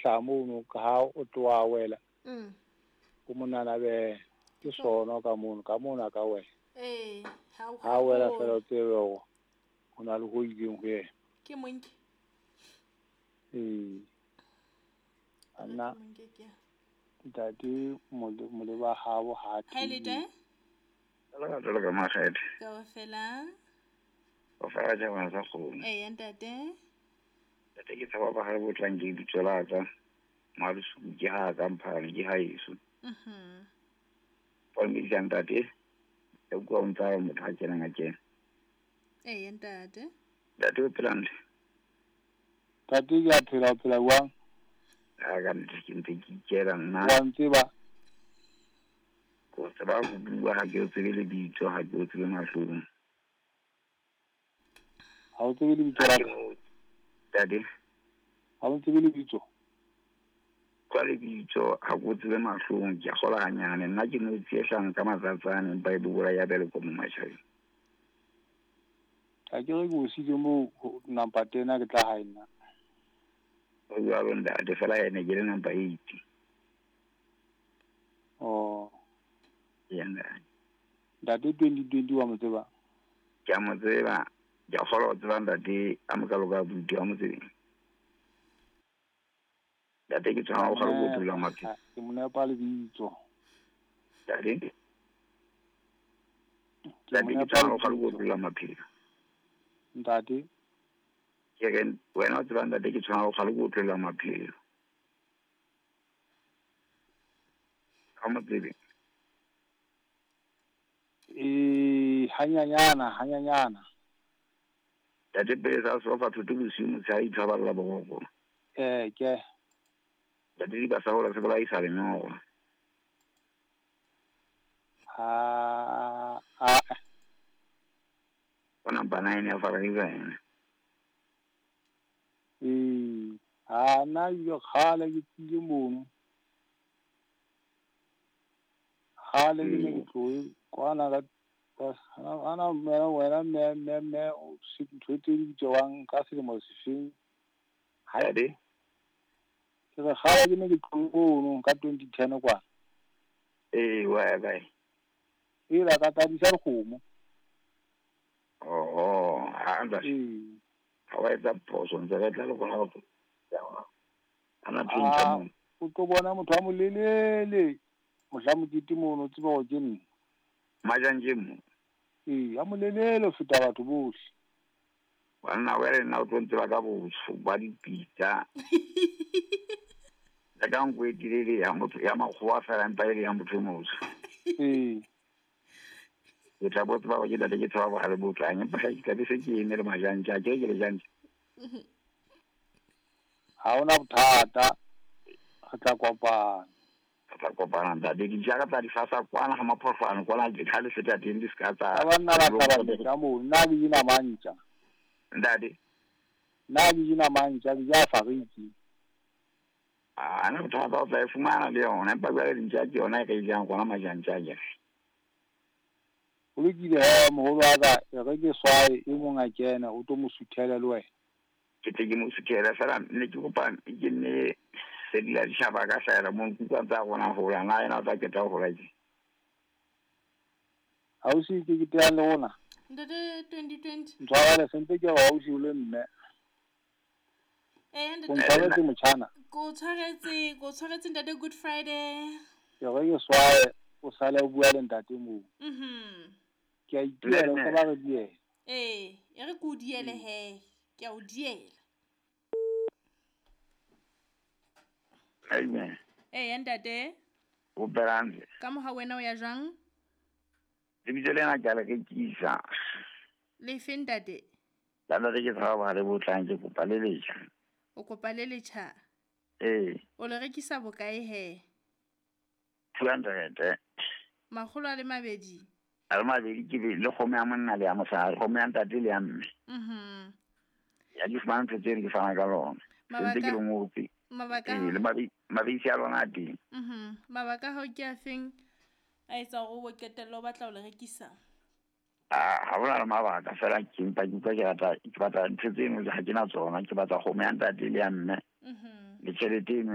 hlaha mono ka ha o tloha wela. Ko monana be ke sono ka mono ka mona ka wela. Ee, ha wela fela o tsebe hore ho na le ho ileng ho yena. Ke monke. Ee. Ana ntate moleba habo ha Hi le La ka ka makgethe. Kaofela. O fela ja bana sa kgomo. Ee ntate. Ntate ke tshaba ba ha bo tlang ke bitso la ka. Malusu ke ha ka mphane ke ha yeso. Pa mi ja ntate. Ke bua o ntsa motho ha kena ngakeng. Ee ntate. Ntate o phela ntle. Ntate ke a phela o phela jwang? Ha ka ntle ke ntse ke ikela nna. Wa ntseba? Ko tseba ho bua ha ke o tsebe lebitso, ha ke o tsebe mahlong. Ha o tsebe lebitso la ka? Ntate. Ha o tsebe lebitso? Kwa lebitso ha ke o tsebe mahlong, ke a kgola hanyane. Nna ke no tsiehlang ka matsatsane empa e bobola ya bele ko mo matjhabeng. Ha ke re ke o siile moo number 10 ha ke tla hae nna. O jwalo ntate, fela ene ke le number 8. Oh. Ya ntate. Ntate 2020 wa mo tseba? Ke a mo tseba. Ke a kgolwa ho tseba ntate a mokalo ka buti wa mo tsebe. Ntate ke tshwana ho kgale ko dula maphelo. Ke mo nepa lebitso. Ntate. Ntate ke tshwana ho kgale ko dula maphelo. Ntate. Ke re wena o tseba ntate ke tshwana ho kgale ko dula maphelo. Ha mo tsebe. Ee, hanyanyana, hanyanyana. Ntate pele sa sofa thoto bosiu motshehare itshwarella boroko. Ee, ke. Ntate di ba sa hola se bolaisa lenyora. Ha a. O number 9 ya Faraiza ena. Ee, ha na yo kgale ke tsile mono. Kgale ke ne ke tlohe kwana ka ana mme wena mme mme mme o se ntho tse di bitswang ka selemo sefeng. Ntate. Ke re kgale ke ne ke tlohe mono ka 2010 kwana. Ee, wa ya kae? E la ka tadisa dikgomo. Oh, ha ntate. Ee. Ha wa etsa phoso ntse re tla le bona go. Ana tshwentsa mo. O tlo bona motho a molelele. Mohla mokete mono o tseba hore ke nna. Majanje mo. Ee, a molelele ho feta batho bohle. Banna wena nna o tlo ntseba ka botsho ba dipitsa. Le ka nko e telele ya motho ya makgowa fela empa e le ya motho e motsho. Ee. Ke tla bo tseba hore ke ntate ke tshaba bohale bo tlang, empa ke tla be se ke eme le majantja, a ke ke le jantja. Ha hona bothata, re tla kopana. Re tla kopana ntate, dintja ka tsa di fasa kwana ga maphohlwane kwana ke tlhale feta teng di ska tsa. Ba banna ba tla ba ntja moo, nna ke jena mantja. Ntate. Nna ke jena mantja, ke ja fariki. Ah, ana bothata o tla e fumana le yona, empa jwale dintja ke yona e re e jang gona majantja a kere. Ho lokile he moholo wa ka, e re ke swae e mong a kena o tlo mo suthela le wena. Ke tle ke mo suthele fela ne ke kopa ke nne sedila ditjhaba ka hlahela mo nkutlwa tsa rona hola na yena o tla qeta ho hola ke. Ausi ke ke teang le rona. Ntate 2020. Ntshwarele sentse ke re ausi o le mme. Ee, ntate. O ntshwaretse motjhana. Ko tshwaretse ntate Good Friday. Ke re ke swae o sale o bua le ntate moo. Ke a itiela o ba re diela. Ee, e re ke o diele he. Ke a o diela. Amen. Ee, ntate. O berande. Ka moha wena o ya jwang? Lebitso lena ke a le rekisa. Lefe ntate? La ntate ke tshaba bohale bo tlang, ke kopa le letjha. O kopa le letjha? Ee. O le rekisa bokae he? 200. Makgolo a le mabedi. A le mabedi ke le kgomo ya monna le ya mosadi, kgomo ya ntate le ya mme. Ya di fumana ntho tseo ke fana ka lona. Sentse ke le ngotse. Mabaka. Ee, le mabisi a lona a teng. Mabaka hao ke a feng a etsa hore o qetelle o batla ho le rekisa? Ha hona le mabaka fela ke mpa ke utlwa ke rata ke batla ntho tseno ha ke na tsona, ke batla kgomo ya ntate le ya mme. Le tjhelete eno.